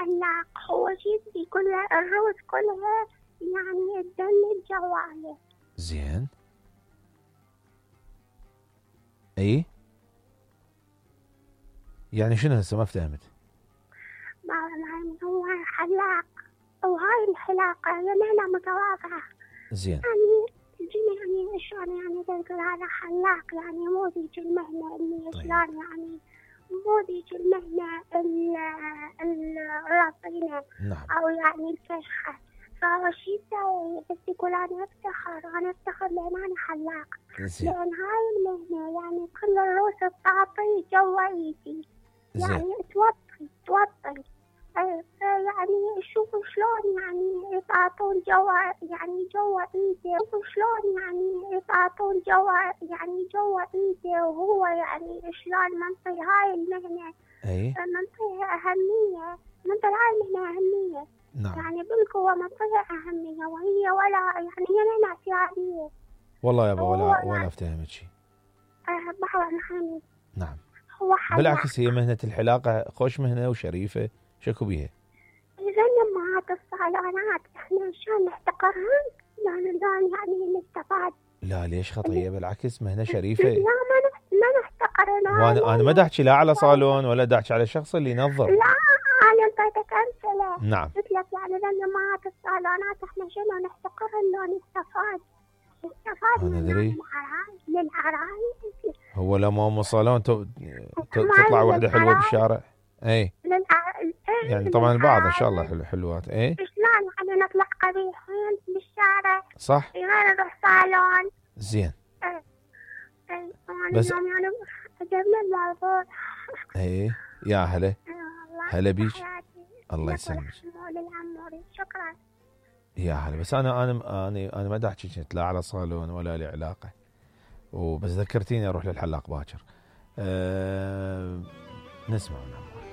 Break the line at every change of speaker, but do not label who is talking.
حلاق، هو شي يقول له الروس كلها يعني تدني جواله.
زين. اي يعني شنو هسه ما فهمت؟
هو حلاق وهاي الحلاقة مهنة متواضعة.
زين.
يعني شلون يعني تقول هذا حلاق، يعني مو ذيك المهنة اللي شلون يعني مو ذيك المهنة الرصينة.
نعم.
أو يعني الفشخة. فهو شي يسوي بس يقول أنا أفتخر لأن أنا حلاق.
زين.
لأن هاي المهنة يعني كل الروس تعطي جوا إيدي. يعني توطي. يعني شوفوا شلون يعني يطاطون جوا ايده، شوفوا شلون يعني يطاطون جوا ايده، وهو يعني شلون منطي هاي المهنة. منطيها أهمية، منطي هاي المهنة أهمية.
نعم.
يعني بالقوة منطيها أهمية، وهي ولا يعني هي مهنة اعتيادية.
والله يابا ولا افتهمت شيء.
بحر محمد.
نعم.
هو حلاق.
بالعكس هي مهنة الحلاقة خوش مهنة وشريفة، شكو بيها؟
إذا أمهات الصالونات إحنا شلون نحتقرهن؟ يعني نستفاد.
لا ليش خطية؟ بالعكس مهنة شريفة.
لا ما نحتقرهن.
وأنا ما داحكي لا على صالون ولا داحكي على الشخص اللي ينظر.
لا أنا انطيتك أمثلة.
نعم.
قلت لك يعني لأن أمهات الصالونات إحنا شنو نحتقرهن لو نستفاد
من
للعرايس.
هو لما ام صالون تطلع وحده حلوه بالشارع. اي يعني طبعا البعض ان شاء الله حلوات. اي
شلون يعني نطلع قبيحين بالشارع
صح
غير نروح صالون.
زين.
بس يعني عجبني الموضوع.
اي يا هلا بيك. الله يسلمك.
شكرا.
يا هلا. بس انا ما داحكي كنت لا على صالون ولا لي علاقه، وبس ذكرتيني اروح للحلاق باكر. نسمع ونعم.